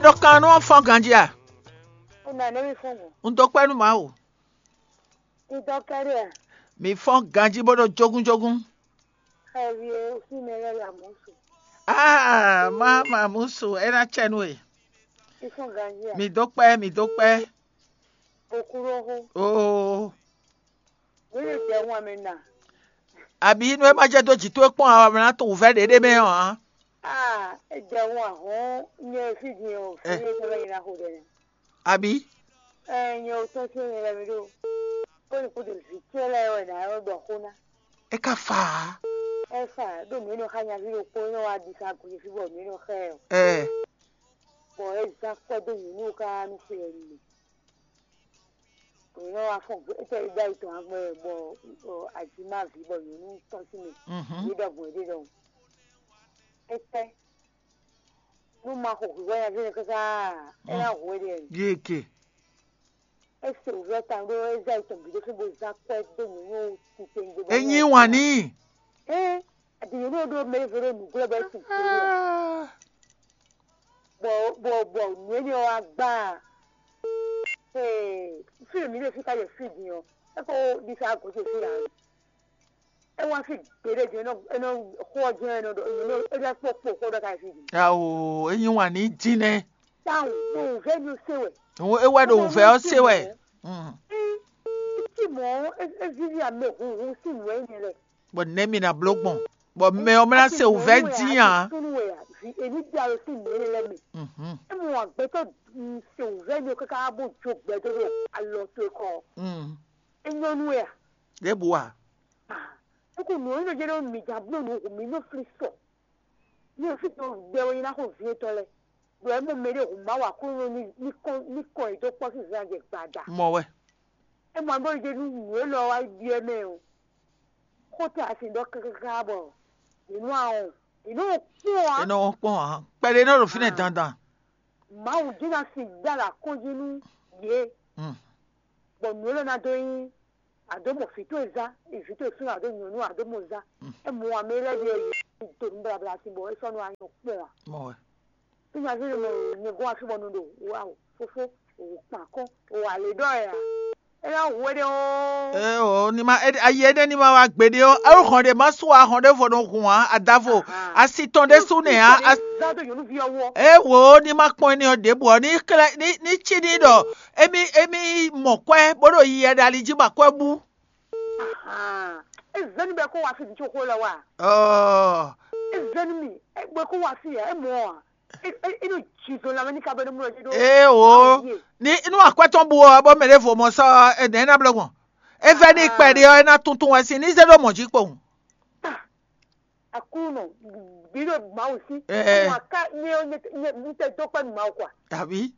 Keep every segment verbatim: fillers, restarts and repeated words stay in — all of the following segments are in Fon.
Tɔkan nú ɔ́ fɔ́n ganjí a? Ó nɔ nɛ́ mì fɔ́n gbɔn. Un dó kpɛ́ nú Mawu. Un dó kpɛ́ ɖe a? Mǐ fɔ́n ganjí bó ɖo jógúnjógún. Xɛví e fí mɛ lɛ́ɛ ya mɔ̌ su. Aa, má ma mú su, é ná cɛ nú we. Un fɔ́n ganjí a? Mǐ dó kpɛ́, mǐ dó kpɛ́. Okúɖóxó. Oo. Wěwe jɛ hun amɛ na. Àbí nú é má jẹ́ dó jǐ towe kpɔ́n ǎ, wǎ ná to wǔvɛ́ ɖě ɖé mɛ ɔ́ ǎ. Ah, é jɛ hun ahɔn nyɛ fí din o, fí é tɔ́ lɛ́ nyina xo ɖɛ. Àbí? Ɛ nyɛ o tɔ́n sín nyɛ lɛ́ mi ɖo. Kó ní kúdú vǐ ce lɛ́ɛ wɛ nǎ ɖɔ xó ná. É ka fa ǎ. Ɛ fa ɖo mǐ nɔ xa nyaví ɖokpó nɔ wá ɖi sa gǔ fí bɔ mǐ nɔ xɛ ɛ o. Ɛ. Bɔ é zán kpɛ́ dó nyǐnu ká nú xwe ɛ nú mì. Mǐ nɔ wá fɔ́n gbé étɛ́ ɖó ayi tɔn agbɛ́ bɔ ajǐ má vǐ bɔ nyɔ̌nu tɔ́n sín mɛ. Mhm. Yě ɖɔ gbɔn yě ɖe ɖɔhun. Étɛ́ nú ma xo hwǐhwɛ́ nyaví nɛ́ káká é ná hu éɖée. Yéke. É se wǔvɛ́ tawun ɖó é zɛ ayi tɔn bǐ ɖó fí bó zán kpɛ́ dó nyɔ̌nu titewungbe bɔ É nyí wǎn n'i. Ée adǐnyɔ̌nu ɔ́ ɖó mɛ ɖěvo ɖó nǔglɔ́ bɔ é sin kplé ɔ́. Bɔ bɔ bɔ nǔ énɛ́ ɔ́ wá gbá a? Ee, fí e mǐ ɖe fí ka ɖe fí din ɔ́, é ko ɖi fí agǒ ce fí ǎ. É wá fí gbeɖé din, é nɔ é nɔ xó ɔ́ jɛ́n é nɔ ɖɔ é nɔ é lɛ́ kpó kpo xó ɖɔ ka ɖe fí din. Ao, é nyí wǎn ní dín nɛ́. Tawun, mo wǔvɛ́ ní se wɛ. Ó é wá ɖo wǔvɛ́ ɔ́ se wɛ. Mm. Tí mɔ̌ é víví amɛ hunhun sín nǔ wɛ nyɛ lɛ. Bɔ nɛ̌ mi ná bló gbɔn? Bɔ mɛ ɔ́ mɛ ná se wǔvɛ́ dín ǎ. Súnú wɛ a? Vi èmi bí alo sín nǔ énɛ́ lɛ́ɛ mɛ. Mhm. É mɔ agbɛtɔ́ se wǔvɛ́ ní káká bó jó gbɛdó ɖo alɔ towe kɔ. Mm. É nyɔ́ nú wɛ a? Ɖěbǔ a? Ah, é ko nǔ ɔ́ nyí nɔ jɛ ɖɔ mǐ jǎ bló nǔ hu mǐ nɔ flí sɔ. Ní o fí tɔn gbɛ wɛ nyí ná xo vǐ etɔn lɛ. Ɖo ɛ mɔ mɛ ɖé hu Mawu Aklúnɔ ní ní kɔn ní kɔn yě dó kpɔ́ sín zan jɛ gbada. Mɔ wɛ. É mɔ bó ɖi nú nǔ élɔ́ wá ɖyɔ́ mɛ o. Xó tɛ asi ɖɔ káká bɔ yě nɔ awɔn. Yě nɔ kpɔ́n ǎ. É nɔ kpɔ́n ǎ. Kpɛɖé nɔ ɖo fínɛ́ dandan. Mawu jí ná si dá lě akɔ́njí nú yě. Mm. Bɔ nǔ élɔ́ ná dó nyí àdó mɔ vǐ towe zán, vǐ towe súnnu àdó nyɔ̌nu àdó mɔ zán. Mm. É mɔ amɛ lɛ́ɛ ɖe yě do nǔ blabla sín bɔ é sɔ́ nɔ anyɔ kpɔ́n ǎ. Mɔ wɛ. Fí nyaví ɖo mɔ nyɛ gɔ́n afí bɔ nu ɖo wá o fófó o kpan kɔn o alě ɖɔ ɛ ǎ. É ná hu éɖée ɔ́. Ee o, ní ma é- ayi énɛ́ ní ma wá gbeɖé ɔ́, é hɔn ɖě má sú ahɔn ɖěvo nɔ hun ǎ, adavo asi tɔn ɖésú nɛ ǎ. Zán dó nyɔ̌nuví ɔ́ wú ɔ́. É wǒ ní ma kpɔ́n énɛ́ ɔ́ ɖěbǔ ɔ́, ní xlɛ́ ní ní cí ní ɖɔ émí émí mɔ kwɛ́ bó ɖo yiyi ɖo ali jí bɔ akwɛ́ bú. Ahan. É zɛ́n nú bɔ é kó wá fí vǐ có xó lɔ wá. Ɔɔ. É zɛ́n nú mì, é bɔ é kó wá fí ǎ, é mɔ ǎ. É é é nɔ ji zɔn lanmɛ ní ka bɔ é nɔ mlɔ jí ɖó. Ee o. Ní inú akwɛ́ tɔn bu ɔ́, bɔ mɛ ɖěvo mɔ sɔ ɔ́, é nɛ̌ ná bló gbɔn? É vɛ́ ní kpɛɖé ɔ́, é ná tuntun wɛ sín ní zé ɖó mɔ̌ jí kpowun. Aklúnɔ, bí ɖo Mawu sí. Ɛɛ. Wǎn ká nyɛ ɔ́ nyɛ nyɛ nyɛ tɛ dó kpɛ́ nú Mawu kɔ a? Tàbí?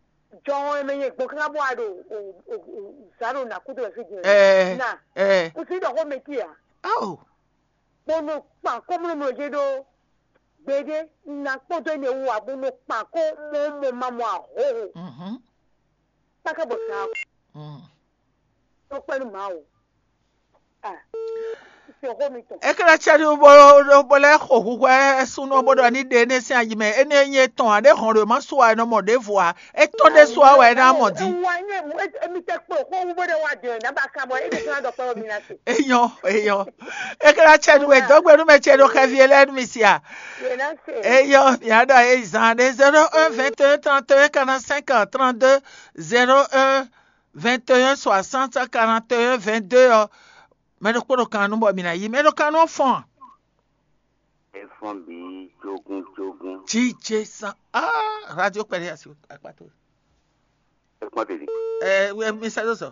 Jɔn ɔ́ mɛ nyɛ gbɔn káká bɔ a ɖo o o o zǎ ɖo nǎ kúdó wɛ fí din. Ɛɛ. Na. Ɛɛ. O sí ɖɔ xó mɛ tí a? Ao. Bó nɔ kpan kɔ́mlɔ́mlɔ jɛ ɖó gbeɖé na kpɔ́dó énɛ́ wú ǎ bó nɔ kpan kó mɔ mɔ ma mɔ ahóhó. Mhm. Kpákà bɔ sa Mm. Tó kpɛ́ nú Mawu. Ah, sixó mi tɔn. É ké lɛ́ cɛ́ ɖó bó bó lɛ́ xo hwihwɛ súnnu ɔ́ bó ɖɔ ní ɖe énɛ́ sín ayi mɛ. Énɛ́ nyí étɔn ǎ, ɖé hɔn ɖo má su ǎ, é nɔ mɔ ɖěvo ǎ. É tɔ́n ɖé su ǎ wɛ é ná mɔ din. Wa nyɛ mu émi tɛ kpo xó wú bó ɖe wa jɛ na ba ka bɔ émi tɔn dɔ kpɛ mi na se. Eyɔn, eyɔn. É ké lɛ́ cɛ́ ɖó wɛ dɔgbe nú mɛ cɛ́ ɖó xɛvi é lɛ́ nú mi si a. Yɛ na se. Eyɔn, mia ɖɔ é zan ɖé zéro un vingt et un trente et un quarante-cinq trente-deux zéro un vingt et un soixante quarante et un vingt-deux ɔ́, mɛ ɖokpó ɖo kan nú bɔ mǐ ná yí mɛ ɖo kan nú ɔ́ fɔ́n a? É fɔ́n bǐ jógún jógún. Jíjɛ san ah radio kpɛɖé asi akpato. É kpɔ́n tètè. Ɛ wɛ mi sɛ dó sɔ.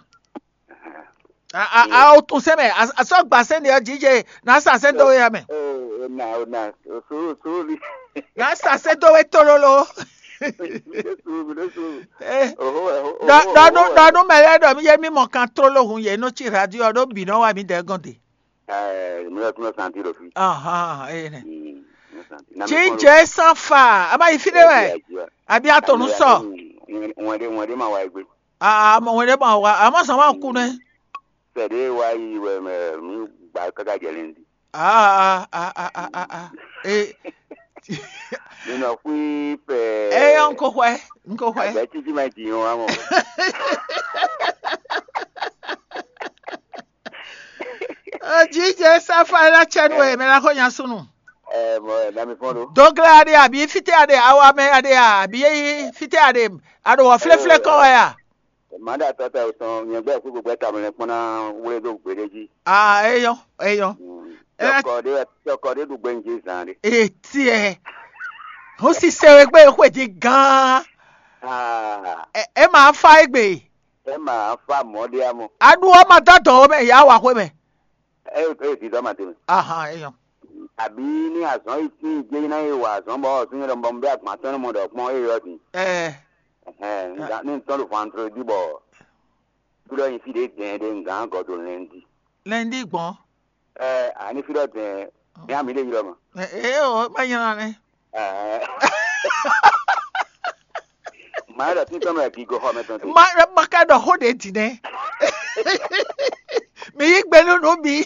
A a a o tún sɛ mɛ a sɔ gba sɛ ne ɔ jíjɛ na sa sɛ dó ya mɛ. Ó na ó na sùúrù sùúrù ni. Na sa sɛ dó wɛ tololo. Sùúrù mi ló sùúrù. Ɛ Oho ɛ oho. Dɔ dɔ nu dɔ nu mɛ lɛ dɔ mi yɛ mi mɔ kan trolo hun yɛ no tsi radio ɔ ɖo bi nɔ wa mi dɛ gɔn de. Ɛ mi lọ tún lọ santi lọ fi. Ahan ee nɛ. Jíjɛ san fa a ma yi fi ɖe wɛ abi a to nu sɔ. Wọn ɖe wọn ɖe ma wa egbe. Aa mɔ wọn ɖe ma wa a ma sɔn ma ku nɛ. Sɛ ɖe wa yi wɛ mɛ mi gba kaka jɛ lɛ ndi. Aa aa aa aa aa ee. Mi nɔ kui fɛ. Eyɔn ko xwɛ. Un ko xwɛ. Agbɛ títí ma ji yɔn wá mɔ. Jijɛ sáfá ɛ ná tsɛ nú ɛ mɛ ná xɔ nya súnnu. Ɛ mɔ ɛ nami fɔn ɖo. Dogla aɖe abi fite aɖe awa mɛ aɖe abi fite aɖe aɖo wɔ flɛflɛ kɔ wɛ a? Màá ɖe atɔ́ ta tɔn nyɛ gbɛ kúkú gbɛ tamɛ lɛ kpɔn ná wlé dó gběɖé jí. Ah, eyɔn, eyɔn. Tɔkɔ ɖé tɔkɔ ɖé ɖu gbɛnjí zan ɖé. Etiɛ. Hɔn sisɛ wɛ gbɛ xwe di gan. Ah, Ɛ ɛ ma fa egbe. Ɛ ma fa mɔ ɖé amɔ. Aɖu ɔ́ ma dɔ dɔ wɛ mɛ ya wa xwe mɛ. Ɛ ɛ di dɔ ma de mɛ. Ahan, eyɔn. Àbí ní azɔn yìí tín jẹ́ iná yìí wà azɔn bɔ ọ̀sùn yẹn lọ́mọ bẹ́ẹ̀ àgbà tán ní mọ̀ dọ̀ kpọ́n é yọ dín. Ɛ Ní n tɔn ɖo vendredi bɔ kúɖɔ nyi fí ɖé dɛn ɖé ngǎn gɔdo lundi. Lundi gbɔn. Ɛ àní fí ɖɔ dɛn ní àmì ɖé ylɔ mɔ. Ɛ o, má nyina nɛ. Ɛ Màá ɖɔ títọ́ mɛ gígó xɔ mɛ tɔn te. Má má ka ɖɔ xó ɖě dì nɛ. Mi yí gbe nú nú mi.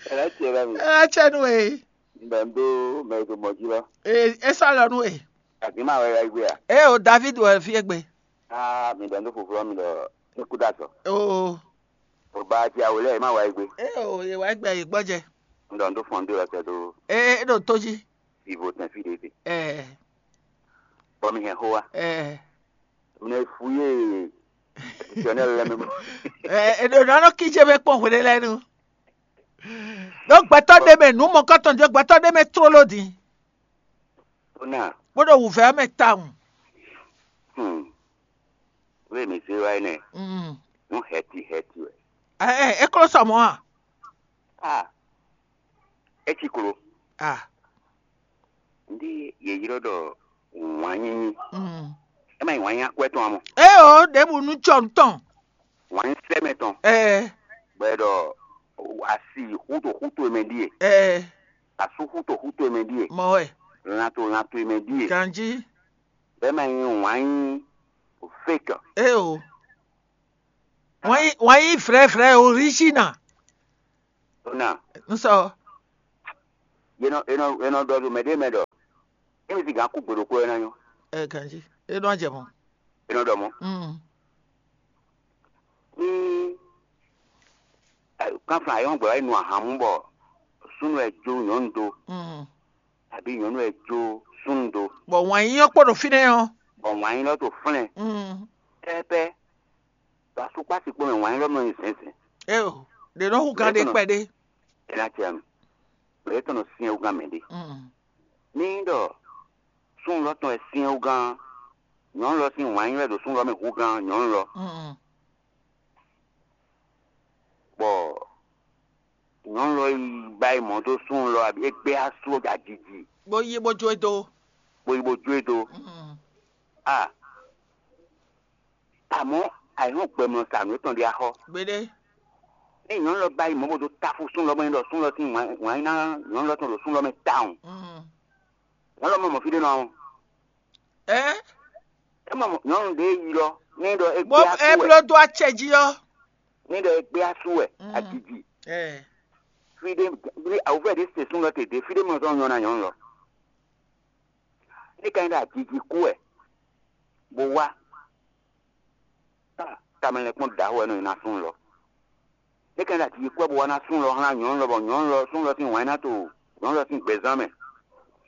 Ɛ lɛ tiɛ bɛ mi. Ɛ tsɛ nú e. Bɛ n ɖó mɛ e ɖo mɔ jí lɔ. Ee, é sɔ́ lɔ nú e. Àbí máa wɛ ya gbé a? Ée o, David wɛ fí égbé. Aa mi ɖɔ nú foflɔ mi ɖɔ ní kú dá sɔ. Oo. O ba ti awo lɛ ma wa gbé. Ée o, yě wá gbɛ yě gbɔjɛ. N ɖɔ n ɖó fɔn ɖé lɔ sɛ ɖó. Ee, é ɖo tó jí. Vivo tɛn fí ɖé te. Ɛɛ. Bɔ mi hɛn xó wa. Ɛɛ. Mi nɛ fu yé. Traditionnel lɛ mi. Ɛɛ, é ɖo nɔ nɔ kíjé mɛ kpɔn hwɖé lɛ nu. Ɖó gbɛtɔ́ ɖé mɛ nǔ mɔkɔtɔn jɔ gbɛtɔ́ ɖé mɛ tlóló din. Ó nà. Bó ɖo wǔvɛ́ mɛ tawun. Hmm. Wé mi zé wá nɛ. Mm. Nú hɛti hɛti wɛ. Ɛ ɛ é kló sɔ mɔ̌ a? Ah. É ci klo. Ah. Ndí yě ylɔ́ ɖɔ wǎn nyínyí. Mm. É ma nyí wǎn nyí akwɛ́ tɔn ǎ mɔ. É o, ɖěbǔ nú cɔ nǔ tɔn. Wǎn nyí sɛ́mɛ tɔn. Ɛ Bɔ è ɖɔ asi xúto xúto e mɛ ɖíe. Ɛ Asú xúto xúto e mɛ ɖíe. Mɔ wɛ. Lanto lanto e mɛ ɖíe. Ganjí. Bɛ́ ma nyí wǎn nyí fake. É o. Wǎn nyí wǎn nyí vrɛ̌ vrɛ̌ original. Ó nà. Un sɔ. Yé nɔ yé nɔ yé nɔ ɖɔ ɖo mɛ ɖé mɛ ɖɔ. Émi si gǎn kú gbe ɖokpó wɛ ná nyɔ́. Ɛ ganjí. É nɔ jɛ mɔ. É nɔ ɖɔ mɔ̌. Mm. Ní kánflán ayɔ́ngbɛ wá yi nu ahan mú bɔ súnnu wɛ jó nyɔ̌nu dó, Mm. Àbí nyɔ̌nu wɛ jó súnnu dó, Bɔ wǎn yíyɔ́ kpó ɖo fínɛ́ ɔ́. Bɔ wǎn nyí lɔ tó flɛ́n Mm. pɛ́pɛ́, ɖo asúkpási kpó mɛ wǎn nyí lɔ mɛ nyi zɛ̌nzɛ̌n. É o, ɖě nɔ hú gán ɖé kpɛɖé. É ná cɛ nu. Lě tɔn nɔ syɛ́n wú gán mɛ ɖé. Mm. Ní ɖɔ súnnu lɔ tɔn wɛ syɛ́n wú gán, nyɔ̌nu lɔ sín wǎn nyí wɛ ɖo súnnu lɔ mɛ hú gán nyɔ̌nu lɔ. Mm. Bɔ nyɔ̌nu lɔ yi ba yi mɔ̌ dó súnnu lɔ, abǐ é gbé asú ɔ́ ajiji, Bó yí bó jó e dó. Bó yi bó jó e dó. Mm. A Amɔ̌, ayǐhɔ́n gbɛmlɔ sa nǔ étɔn ɖé axɔ́. Gbeɖé. Ní nyɔ̌nu lɔ ba yi mɔ̌ bó dó táfú súnnu lɔ mɛ ɖɔ súnnu lɔ sín wǎn nyí ná nyɔ̌nu lɔ tɔn ɖo súnnu lɔ mɛ tawun. Mm. Nyɔ̌nu lɔ mɔ mɔ fí ɖé nɔ ɔ́. Ɛ É mɔ nyɔ̌nu ɖě yi lɔ ní ɖɔ é Bó gbé asú é wɛ. Bló dó acɛ jí ɔ́. Ní ɖɔ é gbé asú wɛ. Mm. Ajiji. Ɛ Fí ɖé fí awǔvɛ́ ɖé se súnnu lɔ te ɖě fí ɖé mɔ zɔn nyɔ́ ná nyɔ̌nu lɔ. Ní ka nyí ɖɔ ajiji kú wɛ bó wá. Tamɛ lɛ́ kpɔ́n ɖǎ wɛ nɔ nyi ná súnnu lɔ. Ní ka nyí ɖɔ ajiji kú wɛ bó wá ná súnnu lɔ hlán nyɔ̌nu lɔ bɔ nyɔ̌nu lɔ súnnu lɔ sín wǎn ná to nyɔ̌nu lɔ sín gbɛzán mɛ.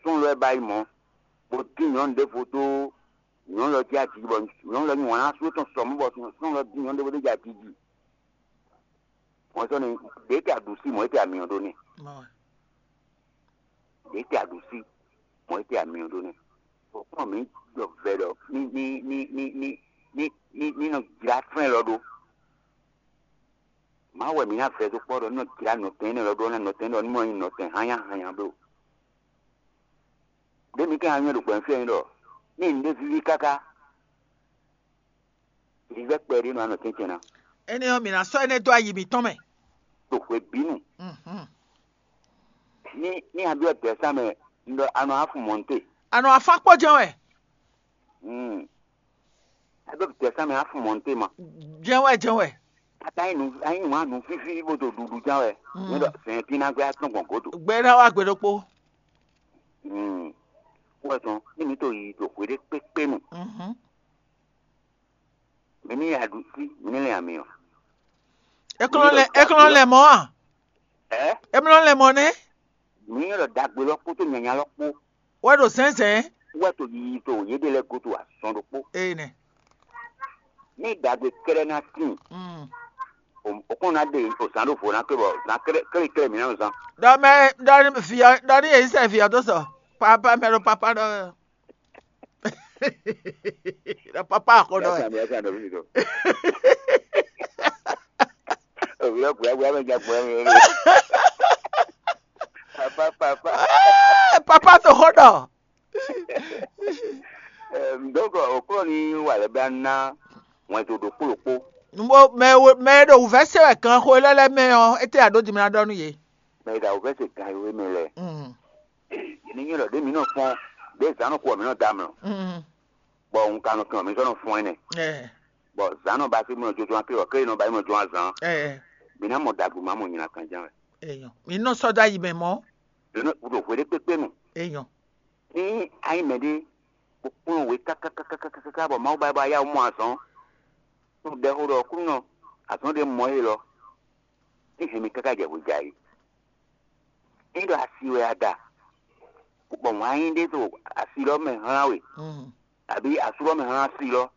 Súnnu lɔ wɛ ba yi mɔ̌, bó dín nyɔ̌nu ɖěvo dó nyɔ̌nu lɔ jí ajiji bɔ nyɔ̌nu lɔ nyi wǎn ná sú tɔn sɔ mɔ̌ bɔ súnnu lɔ dín nyɔ̌nu ɖěvo dó jí ajiji. Mɔ̌ sɔ́ ni ɖě tɛ aɖǔsí mɔ̌ é tɛ amyɔ ɖó n'i. Ɖě tɛ aɖǔsí mɔ̌ é tɛ amyɔ ɖó n'i. Bɔ kpɔ́n mǐ ɖɔ vɛ ɖɔ ní ní ní ní ní ní ní ní nɔ jlá fɛn lɔ ɖó. Mawu wɛ mǐ ná vɛ dó kpɔ́ ɖɔ ní nɔ jlá nɔtɛn énɛ́ lɔ ɖó ná nɔtɛn ɖɔ ní mɔ nyí nɔtɛn hányáhányá bló. Ɖě mǐ ka nywɛ́ ɖo gbɛ̌nfɛ́n ɖɔ ní nǔɖé víví káká. Vívɛ́ kpɛɖé nɔ anɔ tɛ́ntɛn ná. Énɛ́ ɔ́, mǐ ná sɔ́ énɛ́ dó ayi mǐtɔn mɛ. Ɖo hwebǐnu. Mhm. Ní ní a byɔ́ dɛ̌sán mɛ, un ɖɔ a nɔ afun mɔ̌nte. A nɔ afán kpó jɛ́n wɛ. Hmm. A byɔ́ dɛ̌sán mɛ afun mɔ̌nte ma. Jɛ́n wɛ, jɛ́n wɛ. A ka nyí nǔ a nyí nǔ a nǔ fífí bó do ɖuɖu ján wɛ. Hmm. Ní ɖɔ sɛn tí ná gbé atɔ́n gbɔn gǒdo. Gbɛ ná wá gbe ɖokpó. Hmm. kpɔ́ tɔn ní mǐ to yi ɖo hwe ɖé kpékpé nu. Mhm. Mǐ ní ya ɖu sí, mǐ ní lɛn ami ɔ. Eklɔn lɛ eklɔn lɛ mɔ a? Ɛ Emlɔ lɛ mɔ nɛ? Mǐ ní ɖɔ dagbe lɔ kpódó nyanya lɔ kpó Wɛ ɖo zɛnzɛn. Wɛ to yiyi to yěɖée lɛ́ɛ gúdo azɔn ɖokpó. Ee nɛ. Ní dagbe kɛ́ɖɛ́ ná tíin, Mm. o kɔn ná ɖe o zǎn ɖo vo ná klé bɔ zǎn klé klé klé mǐ ná nɔ zán. Dɔ mɛ dɔ ni vi ɔ dɔ ni yě sɛ vi ɔ dó sɔ. Papa mɛ ɖo papa ɖɔ. Ɖɔ papa ko ɖɔ. Yàtọ̀ àmì yàtọ̀ àdó fífi tó. Òwúrọ̀ kùyà kùyà bẹ́ẹ̀ jẹ́ kùyà mi. Papa papa. Papa to xɔ ɖɔ. Donc òkúrò ní wà lẹ́bí ná wọ́n tó ɖokpó ɖokpó. Mo mɛ wo mɛ ɖo wǔvɛ́ se wɛ kan xo lɛ́ lɛ́ mɛ ɔ́, étɛ́ àɖó dimla ɖɔ nú yě. Mɛ e ɖo àwǔvɛ́ se gan yǒ mɛ lɛ́ɛ. Mm. Ní nyí ɖɔ ɖé mǐ nɔ fɔ́n ɖě zǎn nɔ kú ɔ mǐ nɔ da mlɔ, Mm. bɔ un ka nɔ kɛn ɔ mǐ sɔ́ nɔ fɔ́n ɛnɛ, Ɛ bɔ zǎn nɔ ba sí mɔ jojɔn aké ɔ ké nɔ ba yi mɔ jɔn azǎn, ɛ mǐ ná mɔ ɖagbe má mɔ nyina kan ján wɛ. Eyɔn. Mi nɔ sɔ́ dó ayi mɛ mɔ̌. Ɖo nɔ ɖo hwe ɖé kpékpé nu. Eyɔn. Ní ayi mɛ ɖé kpókplɔ́n we kákákákákáká bɔ Mawu ba ba yá mɔ azɔn, tó ɖɛ xó ɖɔ kúnɔ azɔn ɖé mɔ é lɔ, ní hɛn mi káká jɛ hwe jɛ ayǐ. Ní ɖɔ asi wɛ a da, bɔ wǎn yí ɖé ɖo asi lɔ mɛ hlán we, Mm. àbí asú lɔ mɛ hlán asi lɔ,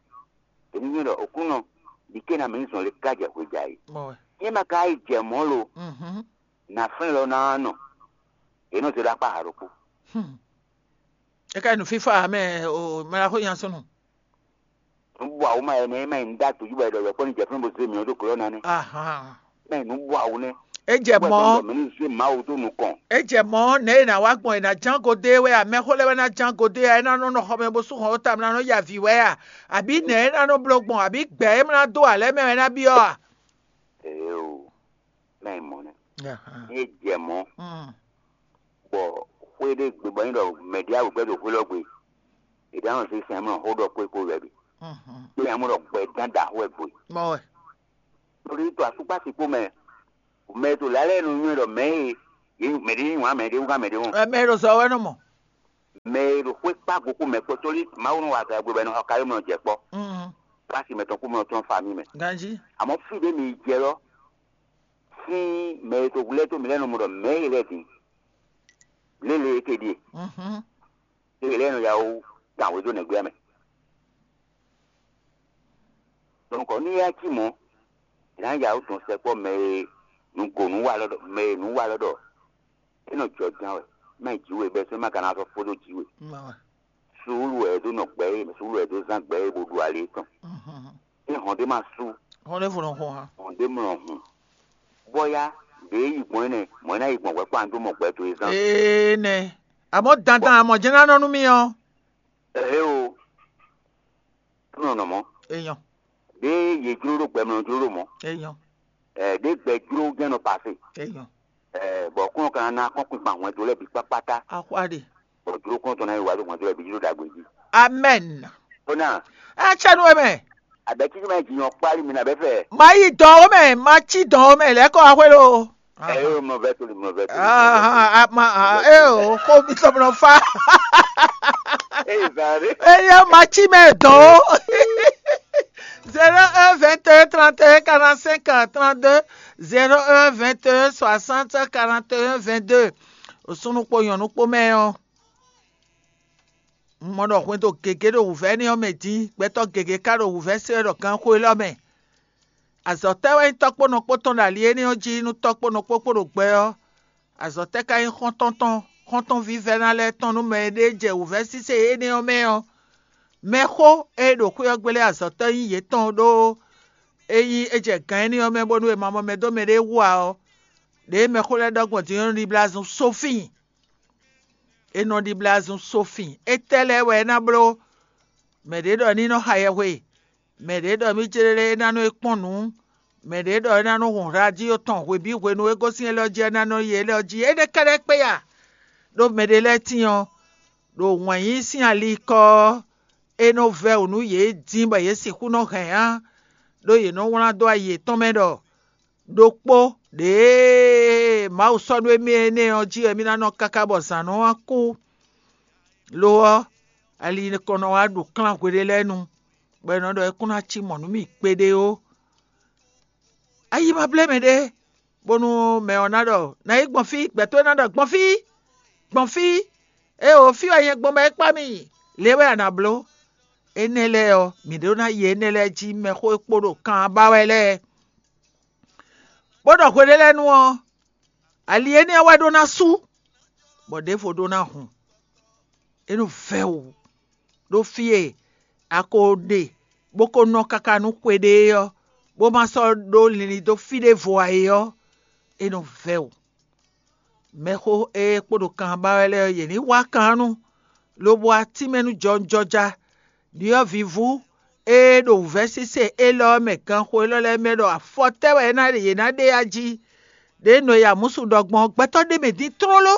èmi nyí ɖɔ òkúnɔ ɖi ké ná mǐ zɔn le ká jɛ hwe jɛ ayǐ. Mɔ wɛ. Yé ma ka yi jɛ mɔ̌ lo, Mhm. nà flɛ́n lɔ ná nɔ, è nɔ zé ɖó akpá ha ɖokpó. Hmm. E ka yi nu fifa mɛ o mɛ la xo yan sunu. Nǔbú awu ma ɛnɛ ma yi nú dá dojú bɔ ɛɖɔ wɛ kpɔ́ ní jɛ fún bó zé mǐ ɔ́ dó glɔ́ ná nɛ́. Ahan. Mɛ nǔbú awu nɛ́. E jɛ mɔ Mǐ ní zé Mawu dó nukɔn. E jɛ mɔ nɛ e na wá gbɔn e na ján godé wɛ a, mɛxó lɛ́ wɛ na ján godé a, e na nɔ nɔ xɔmɛ bó sú hɔn ó ta mla nɔ ya vǐ wɛ a, àbí nɛ e na nɔ bló gbɔn àbí gbɛ e mla dó alɛ mɛ wɛ na byɔ́ a? Ee o, mɛ yi mɔ nɛ́. Ahan. Ní é jɛ mɔ̌, Mm. bɔ xwé ɖé gbe bɔ nyí ɖɔ mɛɖé awu gbɛ́ ɖo xwé lɔ gbe, è ɖǎ nɔ zé sɛn mɔ xó ɖɔ kpé kpó wɛ bǐ. Mhm. Ní nya mɔ ɖɔ gbɛ dán da xó wɛ gbe. Mɔ wɛ. Torí to asúkpá sikpó mɛ, mɛ to lǎlɛ nu nywɛ ɖɔ mɛ e yě mɛ ɖé yí wǎn mɛ ɖé wú gán mɛ ɖé wɔn. Ɛ mɛ ɖo zɔ wɛ nɔ mɔ. Mɛ e ɖo xwé kpá go kú mɛ kpɔ́ torí Mawu nɔ wa gɛgbɛ bɔ è nɔ xɔ kayɔ́mlɔ jɛ kpɔ́. Mm. Plási mɛtɔn kú mɔ tɔn fa mì mɛ. Ganji. Àmọ́ fí ɖé mi jɛ lɔ, sín mɛ e to lɛ́ tó mi lɛ́ nɔ mɔ ɖɔ mɛ e lɛ́ din. Lélẹ̀ é ke ɖíe. Mhm. Lélẹ̀ é nɔ ya wú tàn wé dó nɛgbé mɛ. Donc ní yá cí mɔ̌, è nǎ ya wú dɔn sɛkpɔ́ mɛ e nǔgǒnú wa lɔ ɖɔ mɛ e nǔ wa lɔ ɖɔ é nɔ jɔ ján wɛ, má yi jǐ we bɛ́ sɛ́ má ka ná sɔ́ fó dó jǐ we. Mɔ wɛ. Suúlu wɛ é dó nɔ gbɛ é, suúlu wɛ é dó zán gbɛ é bó ɖu ali tɔn. Mhm. É hɔn ɖé má sú, Hɔn ɖé fo nɔ xo hã. Hɔn ɖé mlɔ hùn. Bɔ ya ɖě yi gbɔn énɛ́, mɔ̌ é ná yi gbɔn hwɛ̌ kpán dó mɔ gbɛ towe zán. Ee nɛ. Àmọ́ dandan àmọ̀ jẹ́ ná nɔ nú mi ɔ́. Ɛhɛ o, nɔ nɔ mɔ̌. Èèyàn. Ɖě yě jló ɖó gbɛ mlɔ jló ɖó mɔ̌. Èèyàn. Ɛ ɖě gbɛ jló jɛ́n nɔ pasé. Èèyàn. Ɛ bɔ kúnɔ ka ná kpɔ́n kpikpan hwɛndo lɛ́ɛ bǐ kpákpátá. Axwá ɖe. Bɔ jló kúnɔ tɔn ná yi wá ɖó hwɛndo lɛ́ɛ bǐ jló ɖagbe jí. Amɛn. Ó ná Ɛ tsɛ nu mɛ. Abɛ títí mɛ jǐ nyɔ kpálí mi nà bɛ́ fɛ. Ma yi dɔn o mɛ, ma ci dɔn o mɛ, lɛ́ kɔ axwé lo. Ɛ yóò mlɔ vɛ tó lè mlɔ vɛ tó. Ah, ah, ah, ma, ah, eh, oh, ko mi tɔ mlɔ fa. Ɛ yìí zan ɖé. Eye ma ci mɛ dɔn o. Zéro un vingt et un trente et un quarante-cinq trente-deux, zéro un vingt et un soixante quarante et un vingt-deux. Osúnú kpo nyɔ̌nu kpo mɛ ɔ́. Un mɔ ɖɔ hwɛndo gěgé ɖo wǔvɛ́ énɛ́ ɔ́ mɛ dín, gbɛtɔ́ gěgé ka ɖo wǔvɛ́ se wɛ ɖɔ ganxó élɔ́ mɛ. Azɔ̌ tɛ́ wɛ nyí tɔ́ kpó nɔ kpó tɔn ɖo ali énɛ́ ɔ́ jí nú tɔ́ kpó nɔ kpó kpó ɖo gbɛ ɔ́? Azɔ̌ tɛ́ ka nyí xɔ́ntɔn tɔn, xɔ́ntɔn vívɛ́ná lɛ́ɛ tɔn nú mɛ e ɖe jɛ wǔvɛ́ sísé énɛ́ ɔ́ mɛ ɔ́? Mɛxó e ɖo xwé ɔ́ gbe lɛ́ɛ azɔ̌ tɔn nyí yětɔn ɖó é nyí é jɛ gǎn énɛ́ ɔ́ mɛ bónú è ma mɔ mɛ dó mɛɖé wú ǎ ɔ́, ɖěe mɛxó lɛ́ɛ ɖɔ gbɔn din ɔ́ nɔ ɖibla zun sófin. È nɔ ɖibla zun sófin. Étɛ́ lɛ́ɛ wɛ é ná bló? Mɛ ɖě ɖɔ ní nɔ xa yɛhwe, mɛ ɖě ɖɔ mí jlé é ná nɔ é kpɔ́n nǔ, mɛ ɖě ɖɔ é ná nɔ hun radio tɔn hwebǐ hwenu e gosín élɔ́ jí é ná nɔ yi élɔ́ jí. Énɛ́ kɛ́ɖɛ́ kpé ya, ɖó mɛ ɖé lɛ́ɛ tíin ɔ́, ɖo wǎn yíyí sín ali kɔ ɔ́, é nɔ vɛ́ wǔ nú yě dín bɔ yě sixú nɔ hɛn á, ɖó yě nɔ wlán dó ayi yětɔn mɛ ɖɔ ɖokpó ɖěe Mawu sɔ́ nú émí énɛ́ ɔ́ jí wɛ mí ná nɔ káká bɔ zǎn nɔ wá kú. Lo ɔ́, ali nɔ wá ɖo klán hweɖé lɛ́ɛ nu, bɔ è nɔ ɖɔ é kún ná cí mɔ̌ nú mì kpéɖé ó. Ayi ma blé mɛ ɖé, bónú mɛ ɔ́ ná ɖɔ ná yi gbɔn fí, gbɛtɔ́ ná ɖɔ gbɔn fí, gbɔn fí, éeǒ, fí wɛ nyɛ gbɔn bɔ é kpá mì, lě wɛ a nǎ bló. Énɛ́ lɛ́ɛ ɔ́, mǐ ɖó ná yi énɛ́ lɛ́ɛ jí mɛxó e kpo ɖo kan ɔ́ ba wɛ lɛ́ɛ, bó ɖɔ hweɖé lɛ́ɛ nu ɔ́, ali énɛ́ ɔ́ wɛ ɖó ná sú, bɔ ɖěvo ɖó ná hun. É nɔ vɛ́ wǔ ɖó fí e a ko ɖe bó ko nɔ káká nú xwe ɖé ɔ́, bó ma sɔ́ ɖó linlin dó fí ɖěvo ǎ é ɔ́, é nɔ vɛ́ wǔ. Mɛxó e kpo ɖo kan ba wɛ lɛ́ɛ ɔ́, yě ní wá kan nu, lobo wá tínmɛ nú jɔwunjɔja. Ɖyɔ̌vǐvú e ɖo wǔvɛ́ sésé élɔ́ ɔ́ mɛ ganxo élɔ́ lɛ́ɛ mɛ ɖɔ afɔ tɛ́ wɛ é ná ɖe yě ná ɖe a jí? Ɖě nɔ e Amúsu ɖɔ gbɔn ɔ́, gbɛtɔ́ ɖé mɛ dín tlóló,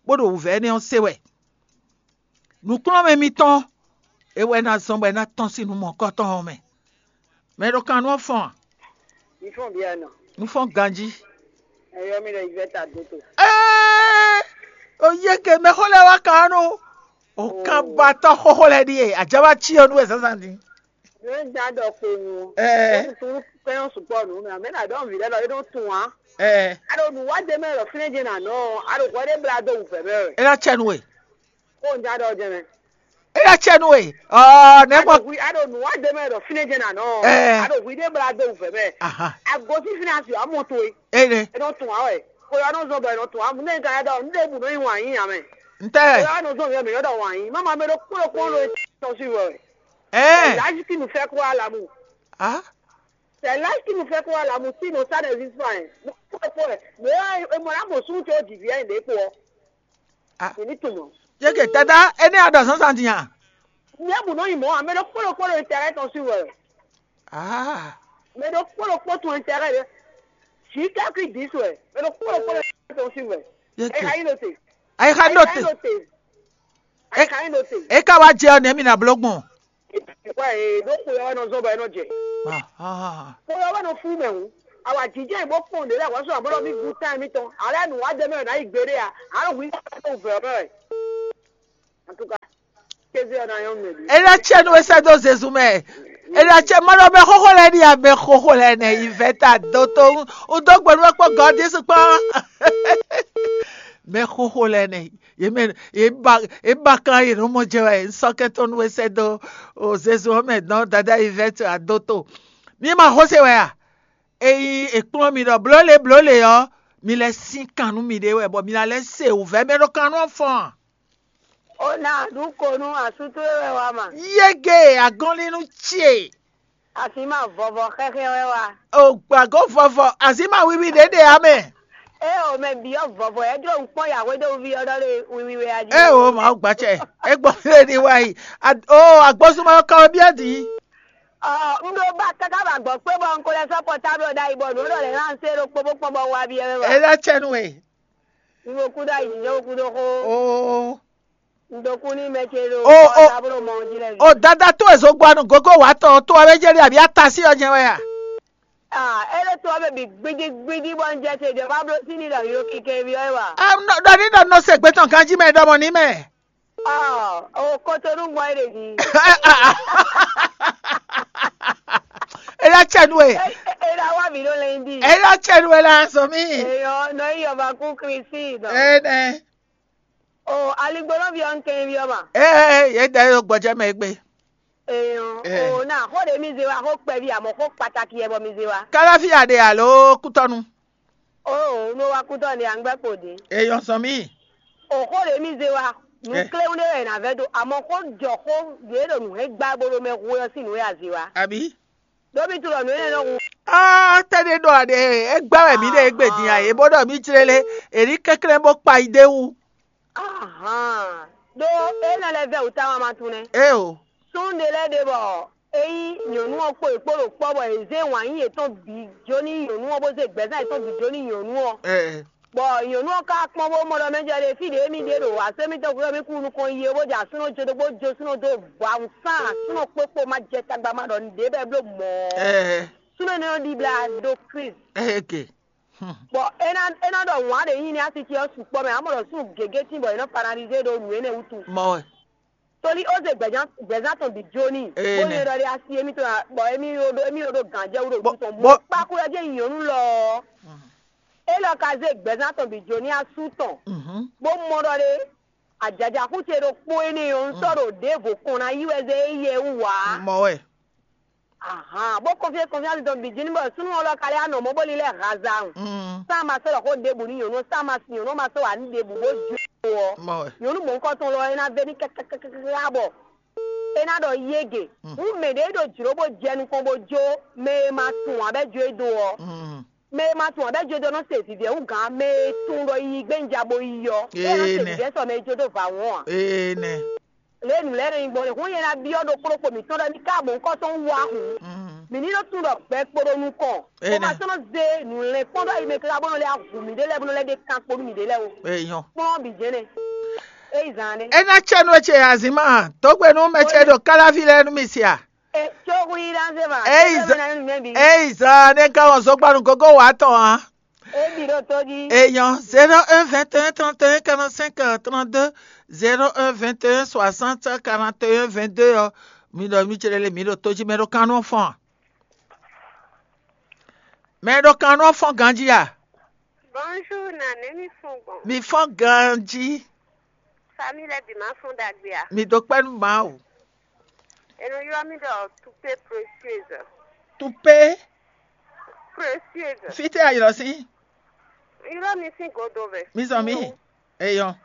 bó ɖo wǔvɛ́ énɛ́ ɔ́ se wɛ. Nǔkplɔ́nmɛ mitɔn, é wɛ ná zɔ́n bɔ é ná tɔ́n sín nǔ mɔ̌kɔtɔn ɔ́ mɛ. Mɛ ɖo kan nú ɔ́ fɔ́n a? Mi fɔ́n bia nɔ. Un fɔ́n ganjí. Ɛ yɔ mi ɖɔ Yvette Adoto. Ee, o yeke mɛxó lɛ́ɛ wá kan nú o kan ba tɔ́ xóxó lɛ́ɛ ɖíe ajaba cí ɔ́ nú wɛ zǎnzǎn din. Nú é dán ɖɔ kpowun ɔ́, Ɛɛ. É kún kpɛ́n ɔ́ sukpɔ́ nǔ mɛ, amɛ ná ɖɔ nǔ vǐ lɛ́ɛ lɔ é ɖó tunwun á. Ɛɛ. A ɖo nǔ wá ɖ'é mɛ ɖɔ fínɛ́ jɛ́n nǎ nɔ ɔ́, a ɖo hwɛ ɖé blá dó wǔvɛ́ mɛ wɛ. É ná cɛ nú we. Xó un já ɖɔ jɛ́n mɛ. É ná cɛ nú we. Ɔɔ, nɛ̌ A gbɔn? ɖo hwi, a ɖo nǔ wá ɖ'é mɛ ɖɔ fínɛ́ jɛ́n nǎ nɔ ɔ́, Ɛɛ. A ɖo hwi ɖé blá dó wǔvɛ́ mɛ. Aha. A gosín fínɛ́ asi ɔ́, a mɔ towe. Énɛ́. É nɔ tunwun á wɛ. Xó ɔ́ nɔ zɔn bɔ è nɔ tunwun á. Nú é ka ɖɔ nú ɖěbǔ nɔ nyi wǎn yí ǎ mɛ. Ntɛ́. Xó ɔ́ nɔ zɔn mǐ ɔ́, mǐ nɔ ɖɔ wǎn yí. Má ma mɛ ɖokpó ɖokpó ɖo é tɔ́n sí wɛ. Ɛɛ. L'âge qui nous fait croire à l'amour. Ah. C'est l'âge qui nous fait croire à l'amour, sinon ça n'existe pas, hein. Mo kpɔ́ kpɔ́ ɛ, mɛ ɔ́ e mɔ ná mɔ súnnu ce ó jǐ vǐ ɛ ɖě kpo ɔ́. Ah. Mǐ ní tunwun mɔ̌. Yeke dada, énɛ́ a ɖɔ zǎnzǎn din a? Nyɛ bu nɔ nyi mɔ̌ ǎ, mɛ ɖokpó ɖokpó ɖo intérêt tɔn sí wɛ. Ah. Mɛ ɖokpó ɖokpó tunwun intérêt ɖé. Jǐ kɛ́kú dǐ su wɛ, mɛ ɖokpó ɖokpó ɖo intérêt tɔn sí wɛ. Yeke. Ɛ ka nyí ɖo te. Ayi xa Ɛ nɔ ka te. nyí ɖo te. Ɛ ka nyí ɖo te. E ka wá jɛ ɔ́ nɛ̌ mi ná bló gbɔn? Wá e ɖó xwe ɔ́ wɛ nɔ zɔ́n bɔ é nɔ jɛ. Ah, ah, ah. Xwe ɔ́ wɛ nɔ fú mɛ hǔn. Awǎjijɛ e bó kpɔn ɖě lɛ́ɛ hwɛ̌ sɔ́ ablɔ́ mì gún tán mitɔn. Alɛ nǔ wá jɛ mɛ wɛ nǎ yi gbeɖé a? Ǎ ɖo hwǐ ɖó vɛ̌ ɔ́ mɛ wɛ. Antúka, kéze ɔ́ ná nyɔ́ nú mɛ bǐ. É ná cɛ nú we sɛ́ dó Zezu mɛ. É ná cɛ mɔ ɖɔ mɛ xóxó lɛ́ɛ ní amɛ xóxó lɛ́ɛ nɛ yi vɛ́ ta dó tó. Un dó gbe nú we kpó gɔ̌ Jezu kpán. Mɛ xóxó lɛ́ɛ nɛ. Yě mɛ yě ba yě ba kan yě nɔ mɔ jɛ wɛ. Un sɔ́ kɛ́tɔ́ nú we sɛ́ dó o Zezu ɔ́ mɛ dɔn dada yi vɛ́ ta dó tó. Mi ma xó se wɛ a? Ényí è kplɔ́n mi ɖɔ blǒ le blǒ le ɔ́, mi lɛ́ sín kan nú miɖée wɛ, bɔ mi ná lɛ́ se wǔvɛ́ mɛ ɖo kan nú ɔ́ fɔ́n a? O ná ɖu ko nú asú towe wɛ wá ma. Yége agɔnlínu ce. Asi ma vɔvɔ xɛxɛ wɛ wá. O gbàgó vɔvɔ, azǐma wiwi ɖě ɖe ǎ mɛ. É o mɛ byɔ́ vɔvɔ, é jló un kpɔ́n yǎhwedóví ɔ́ ɖɔ ɖe wiwi wɛ a jí. É o Mawu gbacɛ, é gbɔ lé ní wá yi. Ad- O agbósúnmọ́ ɔ́ ka wɛ byɔ́ dǐ. Ɔ, un ɖo ba káká ba gbɔ kpé bɔ un ko lɛ sɔ́ pɔtáblo ɖ'ayǐ bɔ nǔ ɖɔ lɛ̌ ná un se ɖokpó bó kpɔ́n bɔ un wá byɔ́ mɛ wá. É ná cɛ nú we. Un ɖo kúdó ayǐjínjɔ́n kúdó xó. Oo. Un ɖo kú ní mɛ ce ɖo O, o. Pɔtáblo mɔ ɔ́ jí lɛ́ɛ. O dada towe zogbo anu gogo wǎ tɔn towe wɛ jɛ ɖe abǐ ata sí ɔ jɛ wɛ a? Ah, é ɖo to ɔ́ mɛ bǐ gbídígbídí bɔ un jɛ te ɖě bá bló sín ní ɖɔ yǒ kɛkɛ byɔ́ é wa. Ɖɔ ní ɖɔ nɔ se gbé tɔn ganjí mɛ ɖɔmɔ ní mɛ. Ah, o Kotonu gbɔn é ɖe jí. Ela cɛ nu e. Ela wa mi ɖo lɛn di. Ela cɛ nu e la sɔ mi. Eyɔ nɔ yi yɔ va kú Kristi dɔ. Ene. O aligbɔnɔ bi ɔn kɛn bi ɔma. Ee ye da yɔ gbɔjɛ mɛ gbe. Eyɔ Eh. O na xó ɖe mi ze wa xó kpɛvi amɔ xó kpataki yɛ bɔ mi ze wa. Kalafi ade alo kutɔnu. O no wa kutɔ ne angbɛ kpo de. Eyɔ sɔn mi. O xó ɖe mi ze wa nu Eh. Kléwu ɖe wɛ na vɛ do amɔ xó jɔ xó ɖe ɖo nu hɛn gba bo ɖo mɛ hu yɔ si nu ya ze wa. Abi. Ɖó mi tu ɖɔ nǔ énɛ́ nɔ hu. Aa tɛ́ ɖé ɖɔ aɖe e gbá wɛ mǐ ɖe égbé din a? È bó ɖɔ mǐ jlé lé, è ní kɛnklɛ́n bó kpa yi d'é wú. Ahan ɖó é nɔ lɛ́ vɛ́ wǔ táma ma tunwun nɛ́. Éeǒ. Súnnu ɖé lɛ́ɛ ɖe bɔ é nyí nyɔ̌nu ɔ́ kpo è kpo ɖo kpɔ́ bɔ è zé wǎn yí yětɔn bǐ jó ní nyɔ̌nu ɔ́ bó zé gbɛ̌zán yětɔn bǐ jó ní nyɔ̌nu ɔ́. Ɛɛ. Bɔ nyɔ̌nu ɔ́ ka kpɔ́n bó mɔ ɖɔ mɛ jɛ ɖe fí ɖě mì ɖe ɖo asé mitɔn gbe ɔ́ mì kú nukɔn yi é bó jɛ asúnɔ jó dó bó jó súnɔ dó bɔ awun sán asúnɔ kpókpó ma jɛ tagba ma ɖɔ nǔɖé bɔ é bló mɔ̌. Ɛɛ. Súnɔ énɛ́ ɔ́ ɖibla ɖó Klísu. Ɛɛ ke. Bɔ é ná é ná ɖɔ wǎn ɖě nyi ní así ce ɔ́ sukpɔ́ mɛ, amɔ ɖɔ súnnu gěgé tín bɔ è nɔ paralizé ɖo nǔ énɛ́ wútu. Mɔ wɛ. Toli ó zé gbɛzán tɔn bǐ jó n'i, bó nyɛ ɖɔ ɖe asi émítɔn, bɔ émí ɖo émí ɖo gǎnjɛwú ɖo wú tɔn bó kpákú ɔ́ jẹ́ nyɔ̌nu lɔ ɔ́. Élɔ́ ka zé gbɛzán tɔn bǐ jó n'i asú tɔn, bó mɔ ɖɔ ɖe ajaja xú ce ɖokpó énɛ́ ɔ́, un sɔ́ ɖo ɖěvo kɔn ná yí wɛ zé éyɛ́ wú ǎ. Mɔ wɛ. Ahan, bó kɔnfyɛ́ kɔnfyɛ́ tɔn bǐ jí ní bɔ súnnu ɔ́ lɔ ka lɛ́ wá nɔ mɔ̌ bó lílɛ́ hazan. Sá ma sɔ́ ɖɔ xó ɖěbǔ nú nyɔ̌nu ɔ́, sá ma sin nyɔ̌nu ɔ́ ma sɔ́ wǎ nú ɖěbǔ bó jó ɔ́. Mɔ wɛ. Nyɔ̌nu mɔ̌hunkɔtɔn lɔ ɔ́, é ná vɛ́ ní kɛkɛkɛkɛkɛkɛkɛ bɔ é ná ɖɔ yége. Hǔn mɛ ɖě ɖo jlǒ bó jɛ nukɔn bó jó mɛ e ma tunwun ǎ bɔ é jó e dó ɔ́. Mɛ e ma tunwun ǎ bɔ é jó e dó nɔ́ se vǐvɛ́ hú gǎn mɛ e tunwun ɖɔ yiyi gbé un ja bo yi ɔ́, é nɔ́ se vǐvɛ́ sɔ mɛ e jó dó vǎ wɔn ǎ. Ee nɛ. Lě e nǔ lɛ́ɛ nɔ nyí gbɔn é, hǔn nyɛ ná byɔ́ ɖokpó ɖokpó mǐtɔn ɖɔ émí ka mɔ nukɔntɔn wú ǎ hǔn, mǐ ní nɔ́ tunwun ɖɔ gbɛ kpo ɖo nukɔn, bó ma sɔ́ nɔ́ zé nǔlɛ́nkpɔ́n ɖó ayi mɛ káká bó nɔ lɛ́ hu mǐɖée lɛ́ɛ bó nɔ lɛ́ ɖe kan kpo nú mǐɖée lɛ́ɛ ó. Eyɔn. Kplɔ́n bǐ jɛ́n nɛ́. É yí zán nɛ́. É ná cɛ nú ecé azǐn ma, dǒ gbe nú mɛ ce ɖo káláví lɛ́ɛ nú mi sia. Etsó hu yí ɖán zé ma. É yí zán nɛ́. Ká wɔn zɔ́gbanu gógó wǎ tɔn ǎ. Ebi ɖo tó jí. Eyɔn, zéro un vingt et un trente et un quarante-cinq trente-deux, zéro un vingt et un soixante quarante et un vingt-deux ɔ́, mi ɖɔ mi céɖé lé mi ɖo tó jí mɛ ɖo kan nɔ fɔn a? Mɛ ɖo kan nɔ fɔn ganjí a? Bonjour, nane mi fɔn gbɔn. Mi fɔn ganjí. Famille lɛ bi ma fɔn dagbe a? Mi do kpɛ nú Mawu. Eno ylɔ mi ɖɔ Tupe Précieuse. Tupe. Précieuse. Fítɛ́ a ylɔ sín? Ylɔ mi sín godo mɛ. Mi zɔn mi. Eyɔn.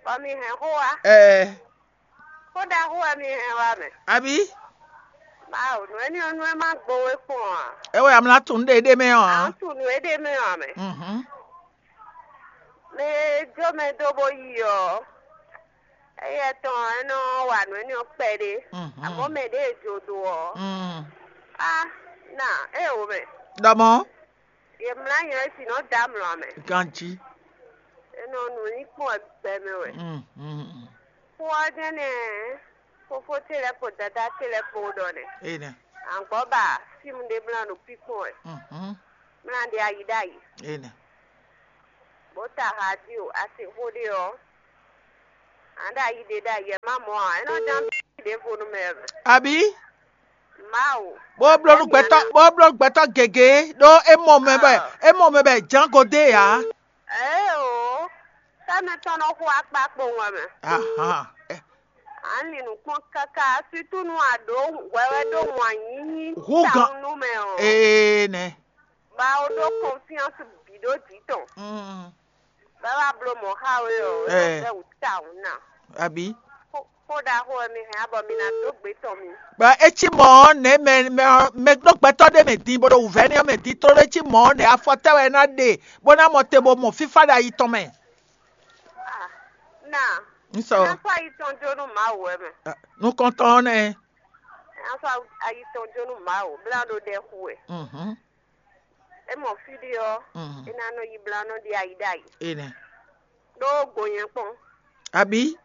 Bɔ mi hɛn xó wa. Ɛɛ. Xó ɖaxó wɛ mi hɛn wa mɛ. Abi? Bawo nǔ éní ɔ́ nú ɛ má gbo wé kpɔn a? Ewé amla tun ɖe ɖe mɛ ɔ́. A tun nǔ éɖé mɛ ɔ́ mɛ. Mhm. Mɛ e jó mɛ dó bó yi ɔ́, éyɛ́ tɔn é nɔ wa nǔ éní ɔ́ kpɛɖé. Mhm. Amɔ̌ mɛ ɖě e jó dó ɔ́, Mm. A na é o mɛ. Ɖɔmɔ. Yě mlá nyɛ é sì nɔ dó amlɔ mɛ. Ganjí. É nɔ nǔ ní kpɔ́n gbɛ mɛ wɛ. Mm, mm, mm. Xó ɔ́ jɛ́n nɛ́ fofó ce lɛ́ɛ kpo dadá ce lɛ́ɛ kpo ɖɔ nɛ́. Enɛ. Angbɔ́ ba fíìmù ɖé mlá ɖo píkpɔ́n wɛ. Mhm. Mlá ɖe ayi ɖ'ayǐ. Enɛ. Bó ta radio a se xó ɖé ɔ́, a ɖo ayi ɖe ɖo ayi ɛ má mɔ ǎ, é nɔ ján bí ɖěvo nú mɛ wɛ. Abi? Mawu. Bó bló nú gbɛtɔ́ bó bló nú gbɛtɔ́ gěgé ɖó é mɔ mɛ bɛ é mɔ mɛ bɛ jǎngo dé ǎ. Ée o, sɛ́mɛ tɔn nɔ xo akpa kpowun wɛ mɛ. Ahan. Ɛ, A nɔ li nǔ kpɔ́n káká, asútúnu a ɖǒ hwɛhwɛ ɖó wǎn yíyí Hú gan- tawun nú mɛ ɔ́. Ee nɛ. Ba ó ɖó confiance bǐ ɖó jǐ tɔn. Mm. Bá wá bló mɔ̌ xá we ɔ́, é nɔ Ɛ. Bɛ́ wǔ tawun ná. Abi? Xó xó ɖaxó wɛ mi hɛn á bɔ mi ná dó gbe tɔn mi. Bɔ é cí mɔ̌ ɔ́, nɛ̌ mɛ mɛ ɔ́ mɛ ɖó gbɛtɔ́ ɖé mɛ din bó ɖo wǔvɛ́ nɛ́ ɔ́ mɛ din tlóló é cí mɔ̌ ɔ́, nɛ̌ afɔtɛ́ wɛ é ná ɖe bó ná mɔ te bó mɔ fífá ɖo ayi tɔn mɛ? Ah, na. Ń sɔ. Ná fɔ ayi tɔn jó nú Mawu wɛ mɛ. Nukɔntɔn ɔ́ nɛ́. Ná fɔ ayi tɔn jó nú Mawu, blá ɖo ɖɛ xu wɛ. Mhm. É mɔ fí ɖé ɔ́, Mhm. É ná nɔ yi blá nɔ ɖi ayi ɖ'ayǐ. Enɛ. Ɖó gbo nyɛ kpɔn. Abi?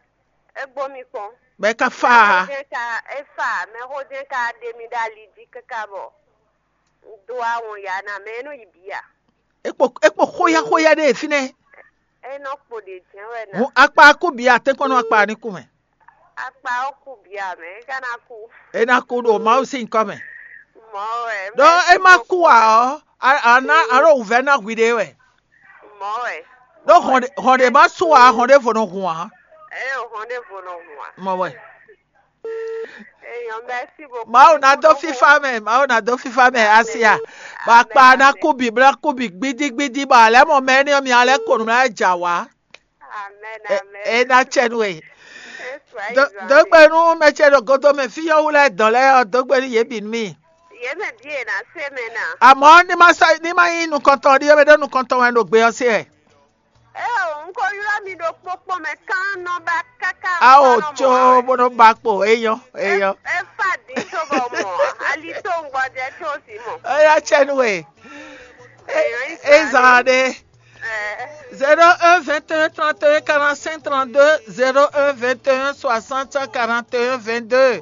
É gbó mi kpɔn. Bɛ ka fa. Mɛxó jɛ́n ka é fa, mɛxó jɛ́n ka ɖe mi ɖo ali jí káká bɔ un dó awɔn ya ná mɛ é nɔ yi bǐ a? É kpo é kpo xóyá xóyá ɖé fínɛ́. É nɔ kpo ɖě jɛ́n wɛ ná. Hǔn akpa kú bǐ atɛ́nkpɔ́n nú akpa ní kú mɛ. Akpa ɔ́ kú bǐ a mɛ, é ka ná kú. É ná kú ɖo Mawu sín nyǐkɔ mɛ. Mɔ̌ wɛ. Ɖó é má kú ǎ ɔ́, a a ná a ɖo wǔvɛ́ ná hwi ɖé wɛ. Mɔ̌ wɛ. Ɖó hɔn ɖé hɔn ɖé má sú ǎ, hɔn ɖěvo nɔ hun ǎ. Ɛ o hɔn ɖěvo nɔ hun ǎ. Mɔ wɛ. Eyɔn, merci beaucoup. Mawu ná dó fífá mɛ, Mawu ná dó fífá mɛ asia. Bɔ akpa ná kú bǐ blá kú bǐ gbídígbídí bɔ alɛ́ mɔ mɛ énɛ́ ɔ́ mi alɛ́ ko nǔ lɛ́ɛ ja wǎ. Amen, amen. É ná cɛ nú we. Dógbe nú mɛ ce ɖo godo mɛ fí nyɔ́ wú lɛ́ɛ dɔn lɛ́ɛ ɔ́, dógbe nú yě bǐ nú mì. Yě mɛ bíi è nǎ se mɛ ná. Àmọ́ ní má sá ní má nyí nukɔntɔn ɖíe mɛ ɖó nukɔntɔn wɛ ɖo gbe ɔ́ sí wɛ. Eo, un ko ylɔ́ mi ɖo kpókpɔ́ mɛ kán nɔ ba káká. Ao có bó nɔ ba kpo, é nyɔ́, é nyɔ́. É fa din tó bɔ mɔ, ali tó ŋgbɔjɛ tó si mɔ. É ná cɛ nú we. É zan ɖé. Zéro un vingt et un trente et un quarante-cinq trente-deux, zéro un vingt et un soixante quarante et un vingt-deux.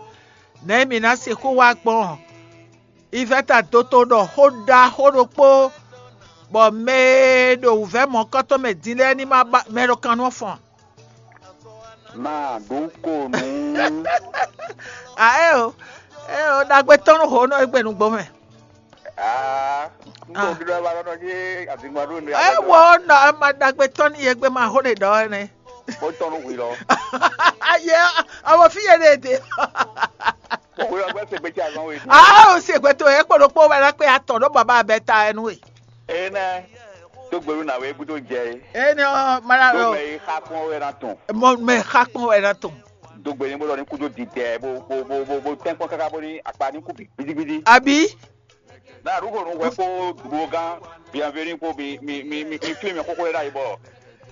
Nɛ̌ mǐ ná sixú wá gbɔn? Ivɛta dó tó ɖɔ xó ɖaxó ɖokpó, bɔ mɛ e ɖo wǔvɛ́ mɔ̌kɔ́tɔn mɛ din lɛ́ɛ ní ma ba mɛ ɖo kan nú ɔ́ fɔ́n. Má ɖu konu. A eo, eo ɖagbe tɔn nú ho nɔ egbe nugbo mɛ. Aa, n kò ɖɔ ba lɔ nɔ yé azingba ɖo ne. Ewɔ nɔ ma ɖagbe tɔn ní yegbe ma ho ɖe ɖɔ ɛnɛ. Bó tɔn nú hwi lɔ. Ayé, àwọn fi yé ɖe ɖe. Bó hwi lɔ gbɛ se gbèsè azɔn we. Ah, o se gbɛtɔ yɛ kpɔɖɔ kpɔ wɛ lɛ kpɛ atɔ ɖo baba bɛ ta ɛnu we. Ene, tó gbèrú nà wé gbúdó jẹ é. Ene ɔ mara Tó lɔ. Mɛ yi xa kpɔn wɛ ná tún. Mɔ mɛ xa kpɔn wɛ ná tún. Tó gbèrú bó lɔ ní kúdó didɛ bó bó bó bó bó tɛnkpɔn káká bó ní akpa ní kú bi gbidigbidi. Abi. Na arúgbó nu wɛ kó dúró gán bienvenu kó mi mi mi mi mi flin mi kókó lé ɖ'ayǐ bɔ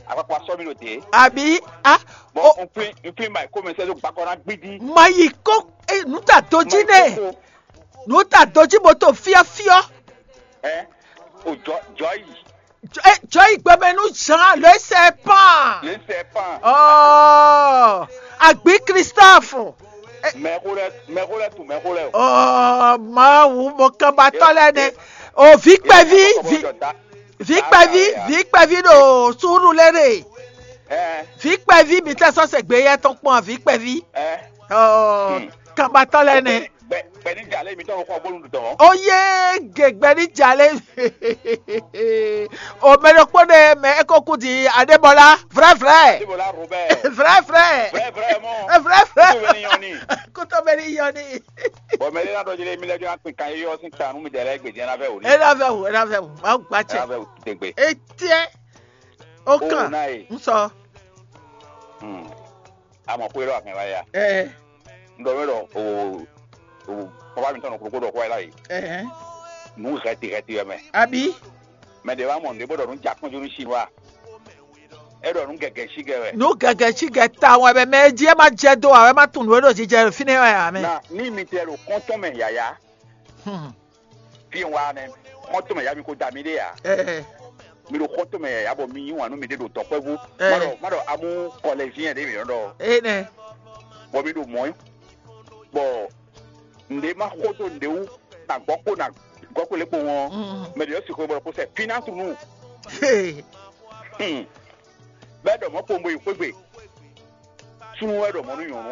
akpakpa sɔ́ mi ɖo dě. Abi a. Bɔn o n flin n flin ma yi kó mɛ sɛ́ dó gbakɔ ná gbídí. Ma yi kó e nu ta do jí nɛ. Nu ta do jí bó to fiɔfiɔ. Ɛ o jɔ jɔ yi. Jɔ yi gbɛmɛ nu Jean le serpent. Le serpent. Oh, agbi Christophe. Mɛxó lɛ mɛxó lɛ tún mɛxó lɛ o. Oh, Mawu, mo kan ba tɔ lɛ nɛ. O vi kpɛvi, vi vi kpɛvi, vi kpɛvi ɖo suuru lɛ ɖe. Ɛ Vi kpɛvi mi tɛ sɔ se gbe yɛ tɔn kpɔn vi kpɛvi. Ɛ Oh, kan ba tɔ lɛ nɛ. Bɛ bɛ ní jalè mi tɔn xɔ bólu dɔn. O ye gegbɛ ní jalè. O mɛ ɖokpó ɖe mɛ eko kú di Adébɔlá, vrai vrai. Adébɔlá Robert. Vrai vrai. Vrai vrai mɔ. Vrai vrai. Kótó bɛ ní yɔni. Kótó bɛ ní yɔni. Bɔn mɛ ɖé ná ɖɔ jɛlɛ mi lɛ jɔ akpin kan yɔ sin ta nú mi dɛ lɛ gbèdé ná vɛ wò ní. E ná vɛ wò, e ná vɛ wò, ma gba cɛ. Ná vɛ wò tɛgbɛ. Etiɛ. O kan. N sɔ. Amɔ xwé lɔ akɛn wáyé a? Ɛɛ. N ɖɔ mɛ ɖɔ o o papa mi tɔn nɔ kúrúkú ɖɔ xwá yìí la yìí. Ɛɛ. Nǔ hɛti hɛti wɛ mɛ. Abi. Mɛ ɖě wá mɔ nǔɖé bó ɖɔ nǔ ja kpɔ́njú nú Chinois. É ɖɔ nǔ gɛgɛ sí gɛ wɛ. Nǔ gɛgɛ sí gɛ ta wɛ bɛ mɛ jí ɛ ma jɛ dó wɛ ma tunwun nǔ e ɖo jijɛ ɖo fínɛ́ wɛ ǎ mɛ. Na ní mi tɛ ɖo kɔ́ntɔn mɛ yǎyá. Hmm. Fí e un wá ɔ́ nɛ́, xɔ́ntɔn mɛ yá mi ko da mì ɖé ǎ. Ɛɛ. Mi ɖo xɔ́ntɔn mɛ yǎyá bɔ mi yí wǎn nú miɖée ɖo dɔ̌nkpɛvú. Ɛɛ. Má ɖɔ má ɖɔ amú kɔlɛzíɛn ɖě mǐ nɔ ɖɔ. Énɛ́. Bɔ mi ɖo mɔ̌ bɔ nǔɖé má xó dó nǔɖé wú na gbɔ́ kpó na gɔ́ kpó lě kpowun ɔ́, Mm. Mɛ ɖě ɔ́ sixú bɔ kó sɛ fínánsu nú. Hey. Hmm. Bɛ́ ɖɔ mɔ̌ kpowun bo yi xwé gbe. Súnnu wɛ ɖɔ mɔ̌ nú nyɔ̌nu a?